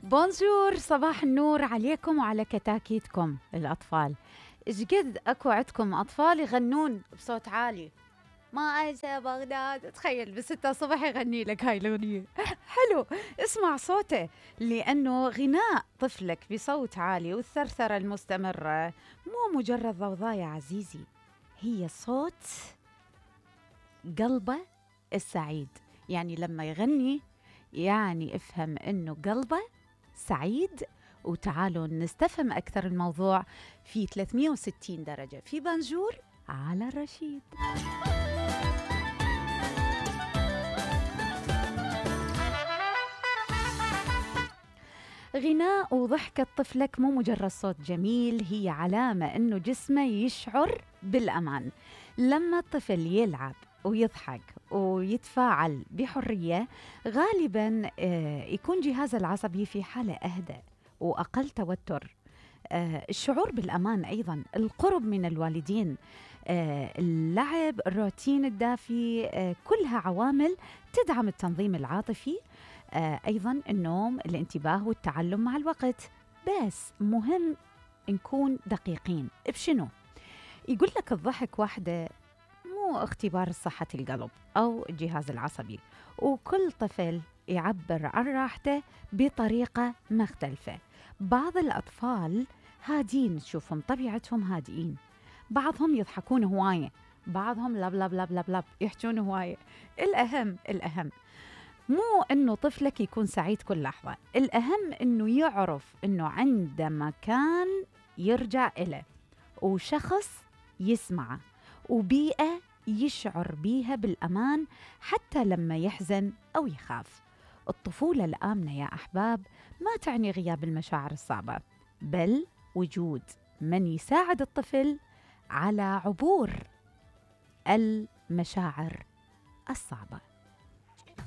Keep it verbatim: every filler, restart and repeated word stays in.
بونجور، صباح النور عليكم وعلى كتاكيتكم الأطفال. إيش قد أكو عندكم أطفال يغنون بصوت عالي؟ ما أنسى بغداد، تخيل بستة الصبح يغني لك هاي الأغنية. حلو، اسمع صوته، لأنه غناء طفلك بصوت عالي والثرثرة المستمرة مو مجرد ضوضاء يا عزيزي، هي صوت قلبه السعيد. يعني لما يغني يعني افهم إنه قلبه سعيد. وتعالوا نستفهم أكثر الموضوع في ثلاثمية وستين درجة في بونجور على الرشيد. غناء وضحكة طفلك مو مجرد صوت جميل، هي علامة إنه جسمه يشعر بالأمان. لما الطفل يلعب ويضحك ويتفاعل بحرية غالباً يكون جهازه العصبي في حالة أهدى وأقل توتر. الشعور بالأمان أيضاً، القرب من الوالدين، اللعب، الروتين الدافي، كلها عوامل تدعم التنظيم العاطفي. أيضاً النوم، الانتباه والتعلم مع الوقت. بس مهم نكون دقيقين بشنو؟ يقول لك الضحك واحدة مو اختبار صحة القلب أو الجهاز العصبي، وكل طفل يعبر عن راحته بطريقة مختلفة. بعض الأطفال هادين، تشوفهم طبيعتهم هادئين، بعضهم يضحكون هواية، بعضهم لب لب لب لب لب يحجون هواية. الأهم الأهم مو إنه طفلك يكون سعيد كل لحظة، الأهم إنه يعرف إنه عنده مكان يرجع إليه، وشخص يسمعه، وبيئة يشعر بيها بالأمان حتى لما يحزن أو يخاف. الطفولة الآمنة يا أحباب ما تعني غياب المشاعر الصعبة، بل وجود من يساعد الطفل على عبور المشاعر الصعبة.